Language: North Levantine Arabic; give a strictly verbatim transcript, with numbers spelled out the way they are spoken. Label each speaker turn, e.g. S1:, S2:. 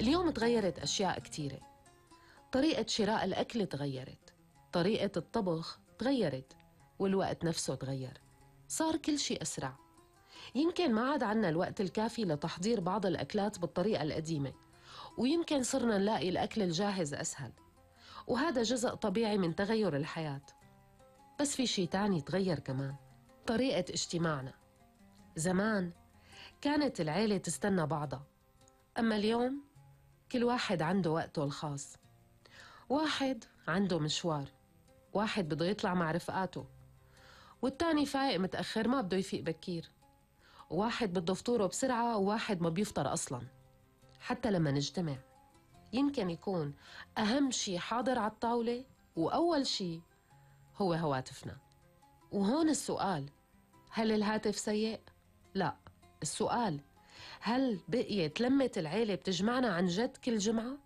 S1: اليوم تغيرت أشياء كتيرة. طريقة شراء الأكل تغيرت، طريقة الطبخ تغيرت، والوقت نفسه تغير، صار كل شي أسرع. يمكن ما عاد عنا الوقت الكافي لتحضير بعض الأكلات بالطريقة القديمة، ويمكن صرنا نلاقي الأكل الجاهز أسهل، وهذا جزء طبيعي من تغير الحياة. بس في شي تاني تغير كمان، طريقة اجتماعنا. زمان كانت العيلة تستنى بعضها، أما اليوم كل واحد عنده وقته الخاص. واحد عنده مشوار، واحد بده يطلع مع رفقاته، والتاني فايق متأخر ما بده يفيق بكير، وواحد بده فطوره بسرعة وواحد ما بيفطر أصلاً. حتى لما نجتمع يمكن يكون أهم شي حاضر على الطاولة وأول شي هو هواتفنا. وهون السؤال، هل الهاتف سيء؟ لا، السؤال هل بقيت لمة العيلة بتجمعنا عن جد كل جمعة؟